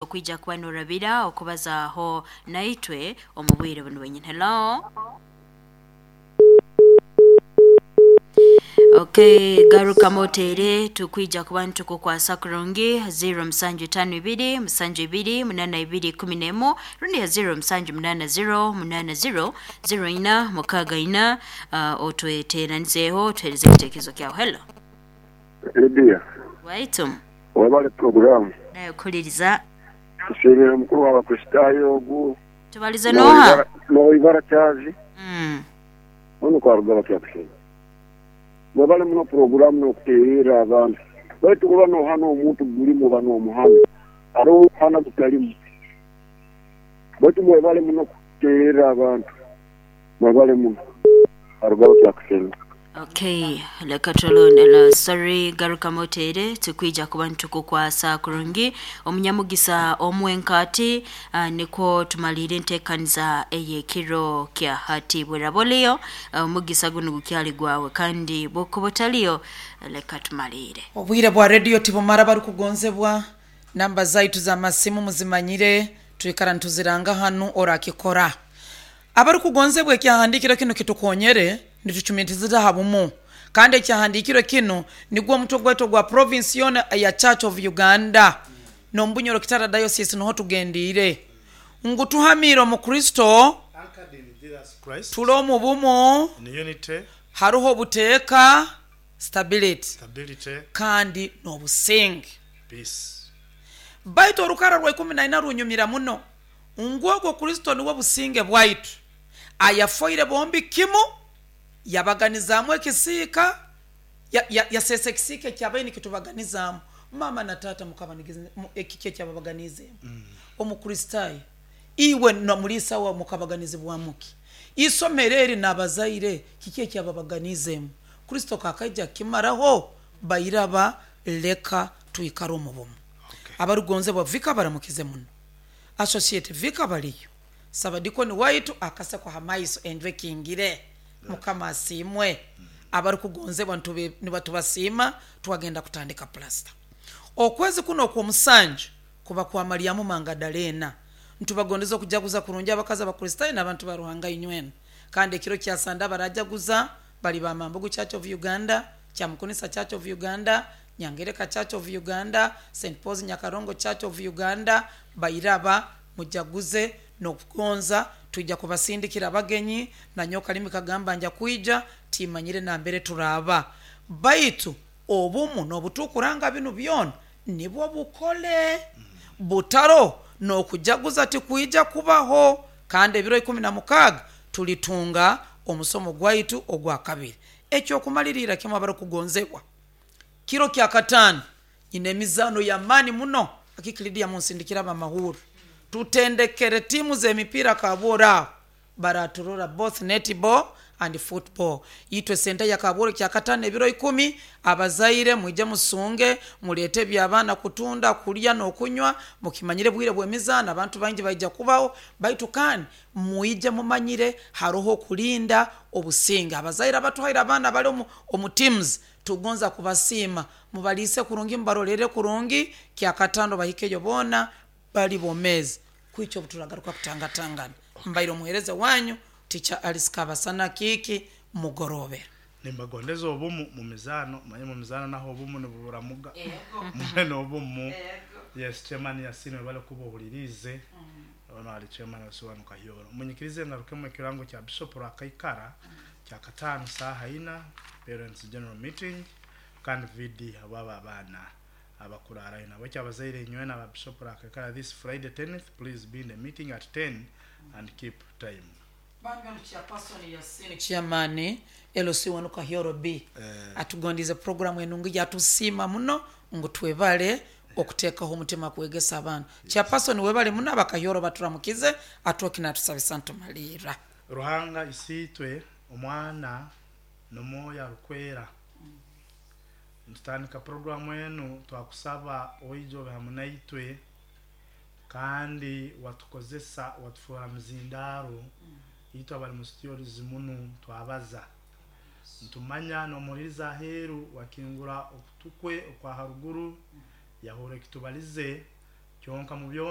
Okwija kuba norabira okubazaaho naitwe omu bwire bunu bwenyini. Hello. Okay, garuka motere tukwija kuba nitukukwasa kurungi 0752 72 82 11 rundi ya 0780 80 04 64 otweteranizeho tuhereze ekitekerezo kyawe. Hello. Lydia, Waitu webale puroguramu. Nayo kuhuliriza. Nsiimire mukuru w'Abakristaayo ogu. Tubalize noha? Noibara Charles. Ono kwaruga bakyakusema. Mwebale muno puroguramu n'okuteerera abantu. Baitu kuba nohana omuntu gulimu oba n'omuhana. Haroho okuhana gutalimu. Baitu mwebale muno kuteerera abantu. Mwebale muno. Aruga bakyakusema. Okay, leka tulonde sorry, garuka motere tukwija kuba nitukukwasa kurungi omunyamugisa omwenkati. Nikwo tumalire entekaniza ey'ekiro kya hati. Bweraboliyo omugisa guno gukyali gwawe, kandi bwokuba otaliyo leka tumalire. Obwire bwa rediyo tibumara. Barikugonzebwa, namba zaitu z'amasimu muzimanyire, twikara nituziranga hanu orakikora. Abarikugonzebwa, ekyahandikiro kinu kitukonyere nitucumitiriza ha bumu, kandi ekyahandikiro kinu nigwo omutwe gwaitu ogwa province yoona eya Church of Uganda n'omubunyoro Kitara Diocese niho tugendiire ngu tuhamiire omu Kristo, Anchored in Jesus Christ, tuli omu bumu, in unity, haruho obuteeka, stability, stability, kandi n'obusinge. Peace. Baitu orukara rwa 14 runyumira muno ngu ogwo Kristo niwe businge bwaitu, ayafoire bombi kimu, yabaganizaamu ekisiika, yaseesa ekisiika ekyabaire nikitubaganizaamu. Mama na taata ekiki ekyababaganizeemu? Omukristaayo iwe na muliisa wawe mukabaganizibwamu ki? Isomero eri n'abazaire kiki ekyababaganizeemu? Kristo kakaija kukimaraho. Bairaba, leka twikare omu bumu. Abarugonzebwa, vika baramukize muno, associate vika baliyo, sabadikoni waitu akaseko ha maiso, enju ekingire. Mukama asiimwe. Abarukugonzebwa, nibatubasiima. Twagenda kutandika plasta okwezi kuno okw'omusanju kuba kwa Mariamu Mangadalena. Ntubagondeza okujaguza kurungi, abakazi Abakristaayo n'abantu ba Ruhanga inywena. Kandi ekiro kya Sande abarajaguza bali ba Mambugu Church of Uganda, Kyamukunisa Church of Uganda, Nyangereka Church of Uganda, St Paul's Nyakarongo Church of Uganda. Bairaba, mujaguze n'okugonza. Twija kubasindikira abagenyi. Nanyowe kalimi kagamba nja kwija, timanyire nambere turaaba, baitu obumu n'obutukuranga binu byona nibwo bukole. Butaro n'okujaguza tikwija kubaho. Kandi ebiro 16 tulitunga omusomo gwaitu ogwakabiri. Ekyokumaliriira kimu, abarukugonzebwa, kiro kya kataano nyina emizaano y'amaani muno. Akikilidia munsindikira abamahurro, tutendekere tiimu z'emipiira Kabworo aho baraturora, both netball and football. Itwe sente ya Kabworo kyakataano ebiro 10. Abazaire mwije musunge, muleete eby'abaana kutunda, kulya n'okunywa. Mukimanyire bwire bw'emizaano abantu baingi baija kubaho, baitu kandi mwije mumanyire haroho okulinda obusinge. Abazaire abatuhaire abaana bali omu teams, tugonza kubasiima. Mubaliise kurungi, mubarolere kurungi, kyakataano bahikeyo boona bali bomezi kwikya. Obu turagaruka kutangatangana, mbaire omuheereza wanyu Ticha Alice Kabasana Kiiki mugorobera. Nimbagondeza obumu mu mizaano. Manye mu mizaano naho obumu nibuburamuga, mube n'obumu. Yes, chairman Yasin, webale kuba ohuliriize. Ono ali chairman Wasiwanu Kahyoro. Munyikirize ngarukemu ekirango kya Bishop Rwakaikara kyakataano saaha 4, parents general meeting, kandi VD habwabo abaana abakurarayo nabo. Ekyabazaire inywena aba Bishop Rwakaikara, this Friday 10th, please be in the meeting at 10 and keep time. Bambi, ono chairperson Yasini, chairman LC wanu Kahyoro B, atugondize programu enungi, yatusiima muno ngu twebale okuteekaho omutima kwegesa abantu. Chairperson, webale muno. Abakahyoro baturamukize. Atwoki natusabisa ntumalirra. Ruhanga Isiitwe, Omwana n'Omwoyo Arukwera, ntutandika puroguramu enu, twakusaba oije obe hamu naitwe, kandi watukozesa, watufoora muzindaaro. Itwe abali mu studios munu twabaza, ntumanya n'omuhuliriza aheeru wakingura okutu kwe okwa haruguru, yahurra ekitubalize kyonka mu byona.